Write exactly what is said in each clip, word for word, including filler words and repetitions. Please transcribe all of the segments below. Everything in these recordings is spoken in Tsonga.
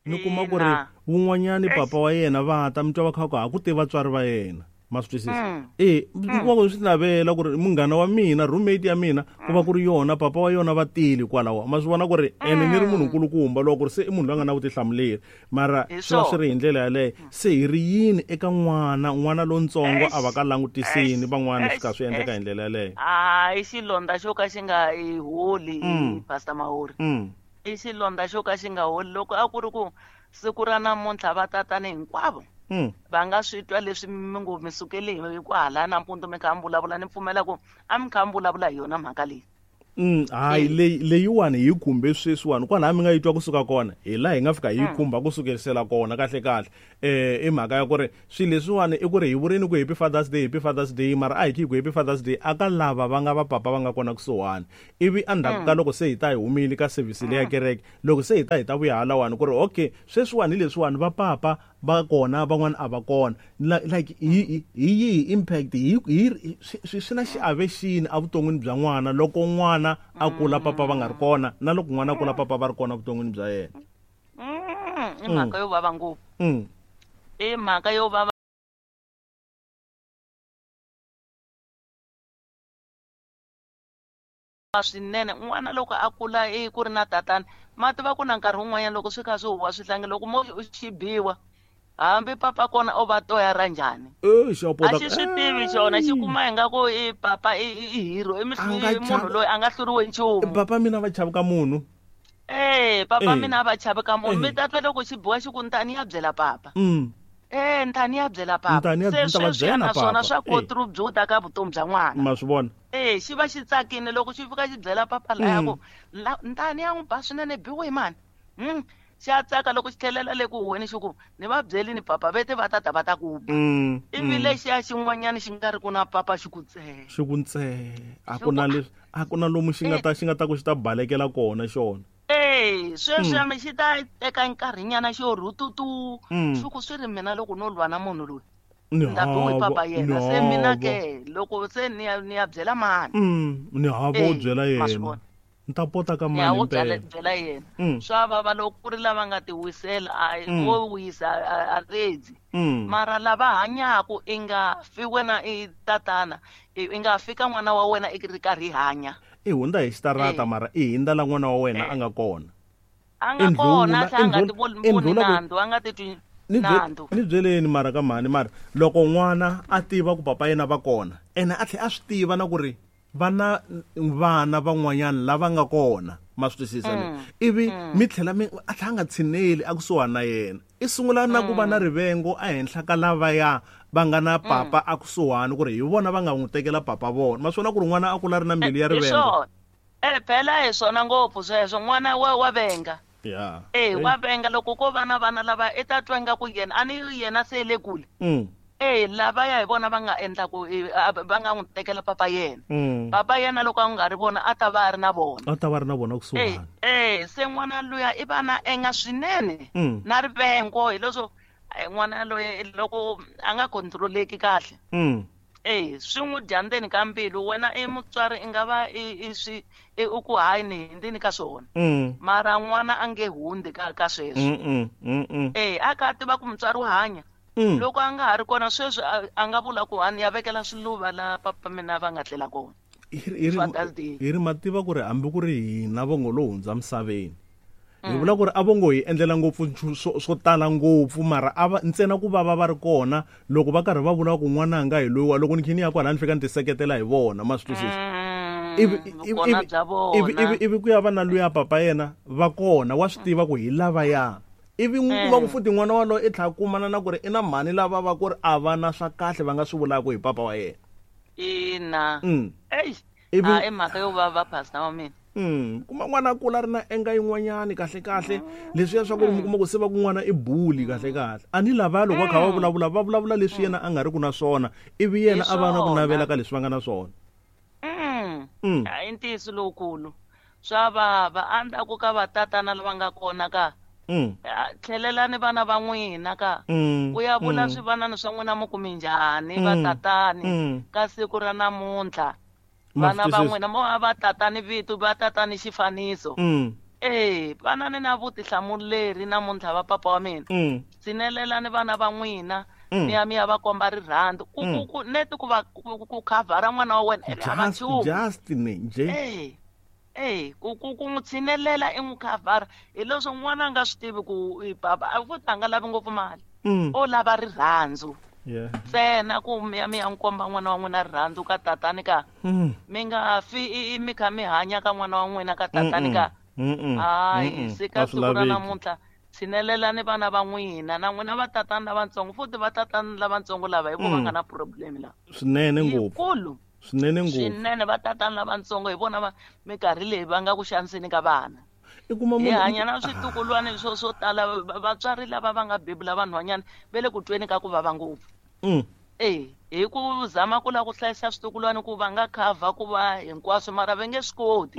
Ni kuma ku ri wun'wanyani papa wa yena va ta mi twa va kha ku ha ku tiva vatswari va yena. Ma swi twisisa? E kuma ku swi navela ku ri munghana wa mina, roommate ya mina, ku va ku ri yona papa wa yona va tile kwalaho. Ma swi vona ku ri ene ni ri munhu nkulukumba loko ku ri se i munhu loyi a nga na vutihlamuleri, mara swi va swi ri hi ndlela yaleyo. Se hi ri yini eka n'wana, n'wana lontsongo a va ka langutisini van'wana swi ka swi endleka hi ndlela yaleyo? A i xilondza xo ka xi nga i holi, Pastor Mahori. I xilondza xo ka xi nga holi. Loko a ku ri ku siku ra namuntlha va tatani hinkwavo va nga swi twa leswi mi ngo mi sukele hi kwahala nampundzu mi kha mi vulavula, ni pfumela ku a mi kha mi vulavula hi yona mhaka leyi. Hayi, leyi leyiwani hi khumbe sweswiwani kwalaha mi nga yi twa kusuka kona, hi laha hi nga fika hi khumba kusukerisela kona kahle kahle. Eh i mhaka ya ku ri swilo leswiwani i ku ri hi vurini ku Happy Father's Day, Happy Father's Day, mara a hi khi ku Happy Father's Day aka lava va nga va papa va nga kona kusuhani. Ivi endzhaku ka loko se hi ta hi humile ka service leya kereke, loko se hi ta hi ta vuya halawani ku ri okay sweswiwani hi leswiwani va papa va kona van'wana a va kona. Like hi hi yihi impact, hi hi swi swi na xiave xini evuton'wini bya n'wana loko n'wana a kula papa va nga ri kona, na loko n'wana a kula papa va ri kona evuton'wini bya yena? I mhaka yo vava ngopfu. I mhaka yo vava swinene. N'wana loko a kula i ku ri na tatana, ma tiva ku na nkarhi wun'wanyana loko swi kha swi huwa swihlangi, loko mo xi biwa hambi papa kona o va toya ra njhani, a xi swi tivi xona, xi kuma ingaku i papa i hero, i munhu loyi a nga hluriwi nchumu. Papa mina va chavi ka munhu. Eh, papa mina va chavi ka munhu. Mi ta twa loko xi biwa xi ku ntani ya byela papa. Eh, ntani ya byela papa. Se sweswi naswona swa contribute ka vutomi bya n'wana. Ma swi vona? Eh, xi va xi tsakile loko xi fika xi byela papa laya ku ntani ya n'wi ba swinene, biwe mani. Hmm. Xi a tsaka loko xi tlhelela le ku huweni xi ku ni va byeli ni papa vete va tata va ta ku ba. Ivi lexiya xin'wanyana xi nga ri ku na papa xi ku ntsee. Xi ku ntsee. A ku na leswi, a ku na lomu xi nga ta xi nga ta ku xi ta balekela kona xona. Eh, sweswi mi xi ta teka nkarhinyana xo rhututu, xi ku swi ri mina loko no lwa na munhu loyi. Ni biwe papa yena, se mina ke loko se ni ya ni ya byela mani. Ni hava wo byela yena. Ni ta pota ka mani impela. Byela yena. Swa vava loko ku ri lava nga ti wisela, a wo wisa a redzi. Mara lava hanyaku i nga fi wena i tatana, i nga fika n'wana wa wena i ri karhi hanya. I hundza hi xitarata mara i hindza la n'wana wa wena a nga kona. A nga kona, a nga ti voni nandzu, a nga titwi nandzu. Ni byeleni mara ka mhani, mara loko n'wana a tiva ku papa yena va kona, ene a tlhela a swi tiva na ku ri vana vana van'wanyana lava nga kona, ma swi twisisa ni? Ivi mi tlhela mi a tlhela a nga tshineli a kusuhani na yena, i sungula na ku va na rivengo ehenhla ka lavaya va nga na papa a kusuhani, ku ri hi vona va nga n'wi tekela papa vona. Ma swi vona ku ri n'wana a kula ri na mbilu ya rivengo. Eh, phela hi swona ngopfu sweswo, n'wana wa wa venga. Yeah. Eh, wa venga loko ko va na vana lava i ta twa ingaku yena a ni yena se le kule. Eh, lavaya hi vona va nga endla ku va nga n'wi tekela papa yena. Papa yena loko a nga ri vona a ta va a ri na vona. A ta va ri na vona kusuhani. Eh, se n'wana luya i va na enga swinene na rivengo, hi leswo n'wana loyi loko a nga controleki kahle. Eh, swi n'wi dya ndzeni ka mbilu. Wena i mutswari i nga va i i swi i ku hayi ni hindzini ka swona. Mara n'wana a nge hundzi ka ka sweswo. Eh, a kha a tiva ku mutswari wa hanya. Loko a nga ha ri kona sweswi a nga vula ku a ni ya vekela swiluva la papa mina va nga tlela kona. Hi ri ma tiva ku ri hambi ku ri hina vo ngo lo hundza misaveni, hi vula ku ri a vo ngo hi endlela ngopfu swo tala ngopfu, mara a va ntsena ku va va va ri kona loko va karhi va vula ku n'wananga hi loyiwa, loko ni khe ni ya kwalaya ni fika ni ti seketela hi vona, ma swi twisisa? Ivi ivi ivi ivi ku ya va na luya papa yena va kona, wa swi tiva ku hi lavaya. Ivi n'wi kuma ku futhi n'wana waloye i tlhela kumana na ku ri i na mhani lava va ku ri a va na swa kahle va nga swi vulaka hi papa wa yena. Ina. Ey, a i mhaka yo vava pastor wa mina. Mm, kuma n'wana a kula ri na enga yin'wanyani kahle kahle, leswiya swa ku ri mi kuma ku se va ku n'wana i bully kahle kahle. A ni lavaya loko va kha va vulavula, va vulavula leswi yena a nga ri ku na swona, ivi yena a va na ku navela ka leswi va nga na swona. Mm. A i ntiyiso lowukulu. Swa vava endzhaku ka vatatana lava nga kona ka tlhelelani vana va n'wina ka ku ya vula swivanani swa n'wina mi ku minjhani vatatani ka siku ra namuntlha. Vana va n'wina mo va tatani vito, va tatani xifaniso. Eh, vana ni na vutihlamuleri namuntlha va papa wa mina. Tshinelelani vana va n'wina. Mi ya mi ya va komba rirhandzu. Ku ku ku neti ku va ku khavhara n'wana wa wena a va nchumu. Just ni nje. Eh. Eh, ku ku ku n'wi tshinelela i n'wi khavhara hi leswo n'wana a nga swi tivi ku papa a futhi a nga lavi ngopfu mali. O lava rirhandzu. Ntsena ku mi ya mi ya n'wi komba n'wana wa n'wina rirhandzu ka tatani ka. Mi nga fi mi kha mi hanya ka n'wana wa n'wina ka tatani ka. Hayi, se ka siku ra namuntlha tshinelelani vana va n'wina na n'wina va tatani lavatsongo futhi va tatani lavatsongo lava hi vona va nga na problem la. Swinene ngopfu. Yikulu. Swinene ngopfu. Swinene va tatani lavatsongo hi vona va minkarhi leyi va nga ku xaniseni ka vana. I kuma munhu hi hanya na switukulwana swo swo tala vatswari lava va nga bebula vanhwanyana va le ku tweni ka ku vava ngopfu. Eh, hi ku zama ku lava ku hlayisa switukulwana ku va nga khavha ku va hinkwaswo mara va nge swi koti.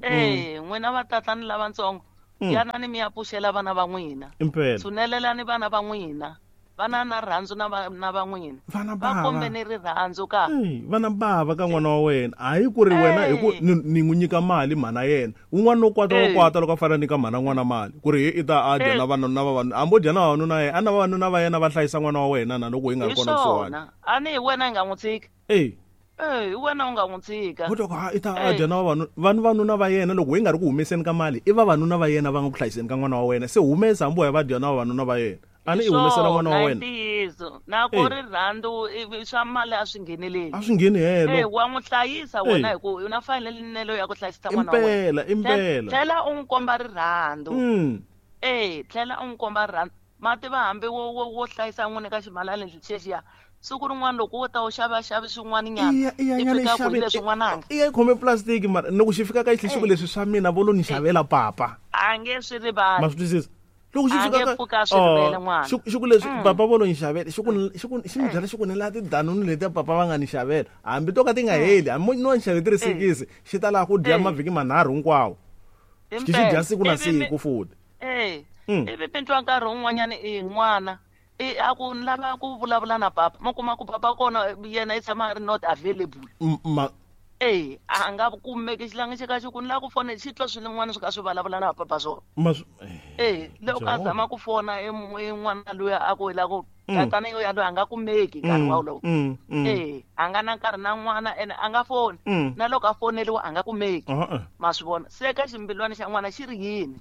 Eh, n'wina va tatani lavatsongo yanani mi ya pfuxela vana va n'wina. Tshunelelani vana va n'wina. Vana na rirhandzu na va na va n'wina. Va kombeni rirhandzu ka. Vana bava ka n'wana wa wena. Hayi ku ri wena hi ku ni n'wi nyika mali mhana yena. Un'wana no kwata wa kwata loko a fanele nyika mhana n'wana mali. Ku ri i ta a dya na vana na vavanuna. Hambi o dya na vavanuna yena, a na vavanuna va yena va hlayisa n'wana wa wena na loko hi nga ri kona kusuhani. A ni hi wena hi nga n'wi tshika. Eh. Eh, hi wena u nga n'wi tshika. Ku twa i ta a dya na vavanuna, vanhu vanuna va yena loko hi nga ri ku humeseni ka mali, i vavanuna va yena va nga ku hlayiseni ka n'wana wa wena. Se humesa hambi wa va dya na vavanuna va yena. Ani i humesela n'wana wa wena. Ntiyiso. Na ku rirhandzu swa mali a swi ngheneleli. A swi ngheni helo. Eh, wa n'wi hlayisa wena hi ku u na fanelelo ya ku hlayisa n'wana wa wena. Impela, impela. Tlhela u n'wi komba rirhandzu. Eh, tlhela u n'wi komba rirhandzu. Mati va hambi wo wo hlayisa n'wini ka ximalani lexiya. Siku rin'wana loko wo ta u xava xavi swin'wana nyana. I fika ku leswi n'wananga. I ya khome plastic mara loko xi fika ka xi ku leswi swa mina vo lo ni xavela papa. A nge swi rivali. Ma swi twisisa? Loko xi fika ka xi ku leswi papa vo lo ni xavela xi ku xi ku xi ni byela xi ku ni la tidanunu letiya papa va nga ni xavela hambi to ka ti nga heli hambi no ni xave ti ri sikisi xi ta laha ku dya mavhiki manharhu hinkwawo. Xi xi dya siku na siku futhi. Eh. Ivi mi twa nkarhi wun'wanyana i n'wana i a ku ni lava ku vulavula na papa mo kuma ku papa kona yena i tshama a ri not available. Eh, a nga kumeki xilangi xi ka xi ku ni lava ku fona xi twa swin'wana swi ka swi vulavula na papa swona. Eh, loko a zama ku fona i n'wana luya a ku hi lava ku tatana yo yaloye a nga kumeki nkarhi wolowo. Eh, a nga na nkarhi na n'wana ene a nga foni. Na loko a foneliwa a nga kumeki. Ma swi vona. Se ka ximbilwana xa n'wana xi ri yini?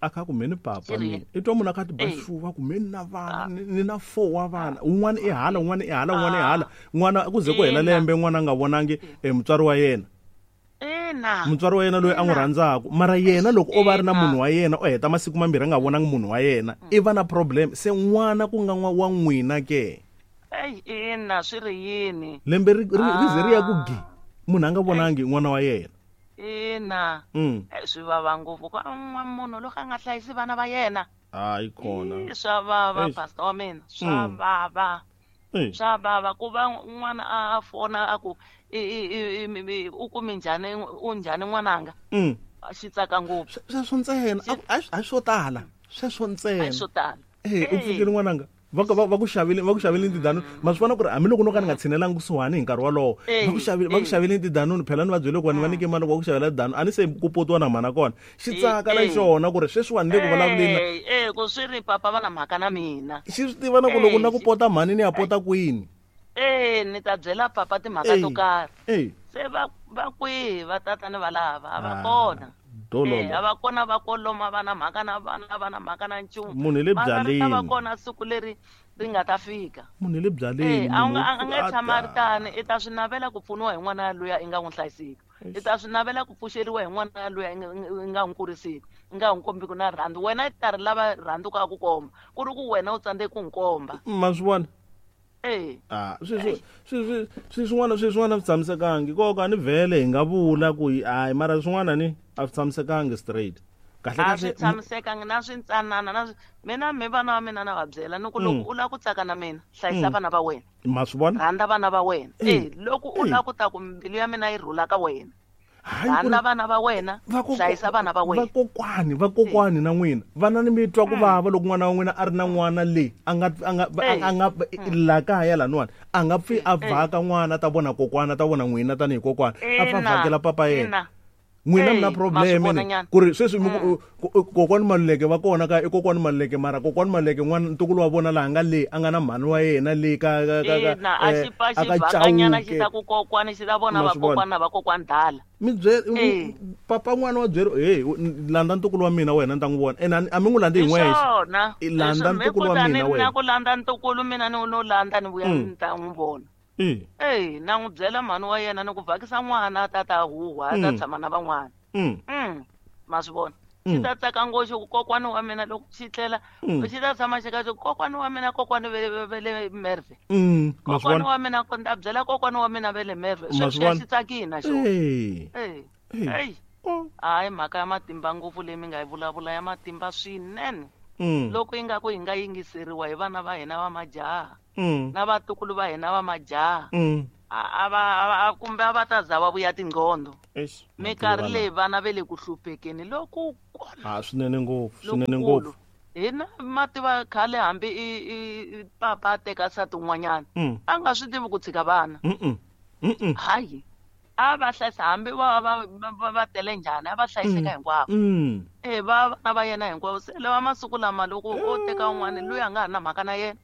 A kha ku meni papa mina. I twa munhu a kha ti baxuva ku meni na vana ni na four wa vana. Un'wana i hala, un'wana i hala, un'wana i hala. N'wana ku ze ku hela lembe n'wana a nga vonangi mutswari wa yena. Ina. Mutswari wa yena loyi a n'wi rhandzaka. Mara yena loko o va ri na munhu wa yena o heta masiku mambirhi a nga vonangi munhu wa yena, i va na problem. Se n'wana ku nga wa n'wina ke. Ey, ina swi ri yini? Lembe ri ri ze ri ya ku gi. Munhu a nga vonangi n'wana wa yena. Ina. Swi vava ngopfu ku munhu loko a nga hlayisi vana va yena. Hayi kona. Swa vava pastor wa mina, swa vava. Swa vava ku va n'wana a fona a ku u kumi njhani u njhani n'wananga. Xi tsaka ngopfu. Sweswo ntsena a swo tala. Sweswo ntsena. A swo tala. Eh, u pfukile n'wananga. Va va ku xavile va ku xavile tidanunu. Ma swi vona ku ri hambi loko no ka ni nga tshinelangi kusuhani hi nkarhi wolowo. Va ku xavile va ku xavile tidanunu phela ni va byele ku vanhu va nyike mali loko va ku xavela tidanunu. A ni se ku potiwa na mhana kona. Xi tsaka na xona ku ri sweswiwani le ku vulavuleni. Eh, ku swi ri papa va na mhaka na mina. Xi swi tiva na ku loko na ku pota mhani ni ya pota kwini. Eh, ni ta byela papa timhaka to karhi. Se va va kwihi va tatani va lava a va kona. Eh, a va kona va koloma va na mhaka na vana va na mhaka na nchumu. Munhu le byaleni. Va kona siku leri ri nga ta fika. Munhu le byaleni. Eh, a nga a nga tshama ri tani, i ta swi navela ku pfuniwa hi n'wana luya i nga n'wi hlayisiki. I ta swi navela ku pfuxeriwa hi n'wana luya i nga n'wi kurisiki, i nga n'wi kombi ku na rirhandzu. Wena i ta ri lava rirhandzu ka ku komba, ku ri ku wena u tsandzeke ku n'wi komba. Ma swi vona? Eh. Ah, swi swi swi swin'wana swi swin'wana swi tshamisekangi. Nkoka ni vhele hi nga vula ku hayi mara swin'wana ni a swi tshamisekangi straight. Kahle kahle a swi tshamisekangi na swintsanana na mina mi vana va mina na va byela ni ku loko u lava ku tsaka na mina hlayisa vana va wena. Ma swi vona? Rhandza vana va wena. Eh, loko u lava ku ta ku mbilu ya mina yi rhula ka wena. Rhandza vana va wena, hlayisa vana va wena. Vakokwani, vakokwani na n'wina. Vana ni mi twa ku vava loko n'wana wa n'wina a ri na n'wana le a nga a nga a nga la kaya laniwani a nga pfi a vhaka n'wana ta vona kokwana ta vona n'wina tanihi kokwana a fa vhakela papa yena. N'wina mi na problem ku ri sweswi kokwani Maluleke va kona ka i kokwani Maluleke mara kokwani Maluleke n'wana ntukulu wa vona laha nga le a nga na mhani wa yena le ka ka ka a xi pa xi vhakanyana xi ta ku kokwani xi ta vona vakokwani na vakokwani dala mi byele papa n'wana wa byele hey landza ntukulu wa mina wena ni ta n'wi vona ene a mi n'wi landzi hi n'wexe i landza ntukulu wa mina wena na ku landza ntukulu mina ni no landza ni vuya ni ta n'wi vona. Eh, na n'wi byela mhani wa yena ni ku vhakisa n'wana a ta huhwa a ta tshama na van'wana. Mm. Ma swi vona. Xi ta tsaka ngopfu ku kokwani wa mina loko xi tlela xi ta tshama xi ka xi kokwani wa mina kokwani ve le Merve. Kokwani wa mina ko ta byela kokwani wa mina ve le Merve. Sweswi xi tsakile na xona. Eh. Eh. Hayi mhaka ya matimba ngopfu leyi mi nga yi vulavula ya matimba swinene. Loko yi nga ku yi nga yingiseriwa hi vana va hina va majaha. Na vatukulu va hina va majaha a va kumbe a va ta za va vuya tingqondo minkarhi leyi vana ve le ku hluphekeni loko a swinene ngopfu swinene ngopfu hina mativa khale hambi i papa a teka nsati un'wanyana a nga swi tivi ku tshika vana hayi a va hlayisa hambi va va va tele njhani a va hlayiseka hinkwavo e va vana va yena hinkwavo se lava masiku lama loko o teka un'wana loyi a nga ha na mhaka na yena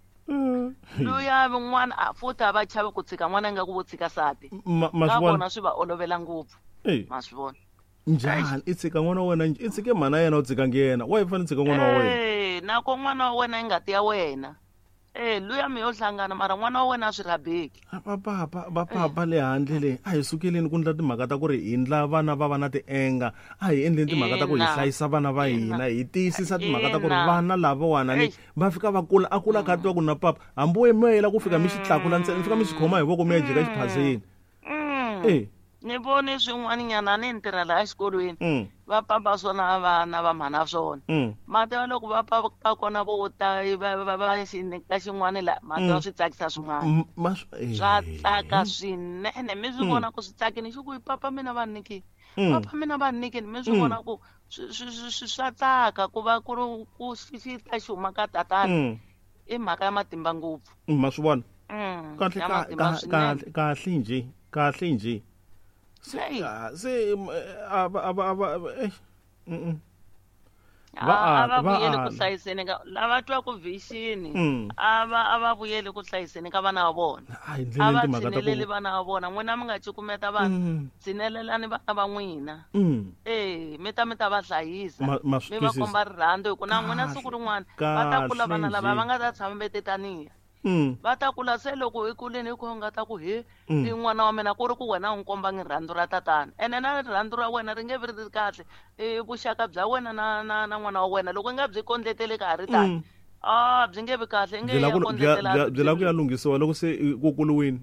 luya van'wana a futhi a va chavi ku tshika n'wana ingaku vo tshika sati ka vona swi va olovela ngopfu ma swi vona njhani i tshika n'wana wa wena i tshike mhana yena u tshikangi yena wa yi fanele tshika n'wana wa wena nako n'wana wa wena i ngati ya wena eh luya mi yo hlangana mara n'wana wa wena a swi rhabeki va papa va papa le handle le a hi sukeleni ku ndla timhaka ta ku ri hi ndla vana va va na tienga a hi endleni timhaka ta ku hi hlayisa vana va hina hi tiyisisa timhaka ta ku ri vana lavawani ni va fika va kula a kula kha twa ku na papa hambi wo mi yela ku fika mi xi tlakula ntsena mi fika mi xi khoma hi voko mi ya jika xiphazeni eh ni vone swin'wanyana ni ntirha laha exikolweni va papa swona vana va mhana swona mativa loko va papa kona vo ta va va xi nyika xin'wana la mativa swi tsakisa swin'wana swa tsaka swinene mi swi vona ku swi tsakini xi ku papa mina va nyikile papa mina va nyikile mi swi vona ku swi swa tsaka ku va ku ri ku xi ta xi huma ka tatana i mhaka ya matimba ngopfu ma swi vona kahle kahle kahle njhe kahle njhe se se a va a va eh va a va vuyeli ku hlayiseni ka lava twa ku vision a va a va vuyeli ku hlayiseni ka vana va vona a va tshineleli vana va vona n'wina mi nga cukumeta vana tshinelelani vana va n'wina eh mi ta mi ta va hlayisa mi va komba rirhandzu hi ku na n'wina siku rin'wana va ta kula vana lava va nga ta tshama ve tetaniya va ta kula se loko i kuleni hi ku nga ta ku he i n'wana wa mina ku ri ku wena u n'wi kombangi rirhandzu ra tatana ene na rirhandzu ra wena ri nge vi ri kahle i vuxaka bya wena na na na n'wana wa wena loko i nga byi kondleteli ka ha ri tani a byi nge vi kahle i nge ya kondletela byi lava ku ya lunghisiwa loko se ku kuliwini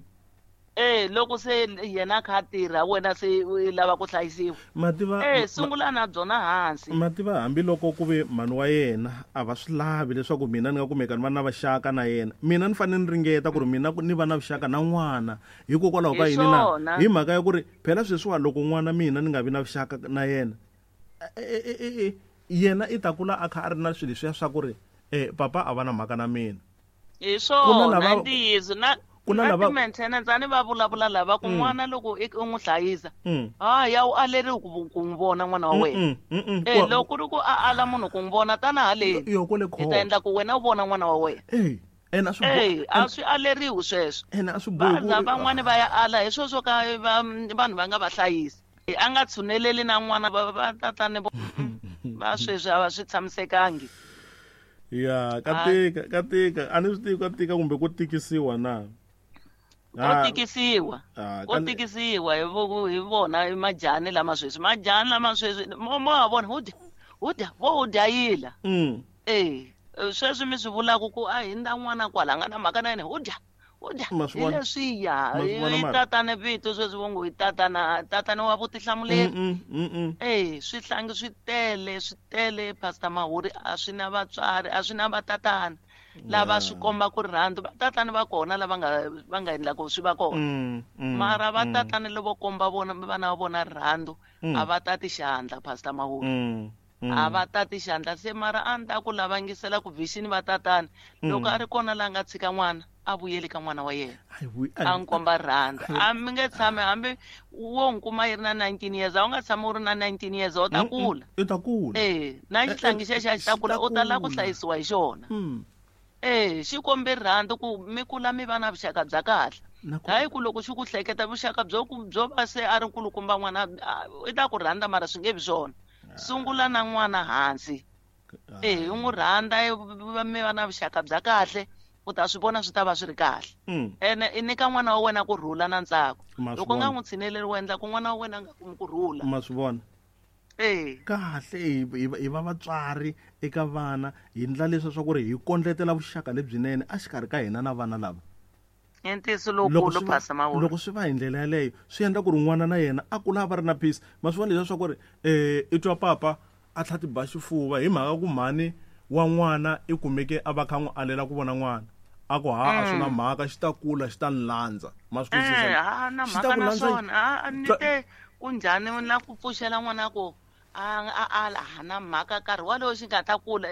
eh loko se yena kha tirha wena se u lava ku hlayisiwa mativa eh sungula na byona hansi mativa hambiloko ku ve mhani wa yena a va swi lavi leswaku mina ni nga kumeka ni va na vaxaka na yena mina ni fanele ni ringeta ku ri mina ni va na vuxaka na n'wana hikokwalaho ka yini na hi mhaka ya ku ri phela sweswiwa loko n'wana mina ni nga vi na vuxaka na yena yena i ta kula a kha a ri na swilo leswiya swa ku ri eh papa a va na mhaka na mina hi swona ntiyiso na kuna lava maintenance ani va vulavula lava ku n'wana loko i n'wi hlayisa ha ya u aleriwi ku ku n'wi vona n'wana wa wena eh loko ri ku a ala munhu ku n'wi vona tana haleni hi ta endla ku wena u vona n'wana wa wena ene a swi a swi aleriwi sweswo ene a swi bohi ku van'wani va ya ala hi sweswo ka vanhu va nga va hlayisi a nga tshuneleli na n'wana va tatani va sweswi a va swi tshamisekangi ya ka tika ka tika a ni swi tivi ka tika kumbe ku tikisiwa na ko tikisiwa ko tikisiwa hi hi vona i majani lama sweswi majani lama sweswi mo mo ha vona hu dya hu dya vo hu dya yila eh sweswi mi swi vulaka ku a hindza n'wana kwala nga na mhaka na yena hu dya hu dya hi leswiya i tatana vito sweswi vo ngo i tatana tatana wa vutihlamuleri eh swihlangi swi tele swi tele Pastor Mahuri a swi na vatswari a swi na vatatana lava swi komba ku rirhandzu vatatana va kona lava nga va nga endlaka swi va kona mara vatatana lavo komba vona vana va vona rirhandzu a va tati xandla Pastor Mahuri a va tati xandla se mara a ni ta ku lavangisela ku vision va tatana loko a ri kona la nga tshika n'wana A vuyeli ka n'wana wa yena. A n'wi komba rirhandzu. A mi nge tshami hambi wo n'wi kuma yi ri na nineteen years, a wu nga tshami u ri na nineteen years, u ta kula. U ta kula. Eh, na xihlangi xexo a xi ta kula, u ta lava ku hlayisiwa hi xona. Eh, xi kombe rirhandzu ku mi kula mi va na vuxaka bya kahle. Hayi ku loko xi ku hleketa vuxaka byo byo va se a ri nkulukumba n'wana i ta ku rhandza mara swi nge vi swona. Sungula na n'wana hansi. Eh, u n'wi rhandza mi va na vuxaka bya kahle. U ta swi vona swi ta va swi ri kahle. Ene i nyika n'wana wa wena ku rhula na ntsako. Loko u nga n'wi tshineleli u endla ku n'wana wa wena a nga kumi ku rhula. Ma swi vona? Eh. Kahle hi va vatswari eka vana hi ndla leswi swa ku ri hi kondletela vuxaka lebyinene exikarhi ka hina na vana lava. I ntiyiso lowukulu Pastor Mawula. Loko swi va hi ndlela yaleyo swi endla ku ri n'wana na yena a kula a va ri na peace. Ma swi vona leswi swa ku ri eh i twa papa a tlha ti ba xifuva hi mhaka ku mhani wa n'wana i kumeke a va kha n'wi alela ku vona n'wana. A ku ha a swi na mhaka xi ta kula xi ta landza. Ma swi twisisa? Eh, ha na mhaka na swona. A ni te ku njhani na ku pfuxela n'wana ku a a a ha na mhaka nkarhi walowo xi nga ta kula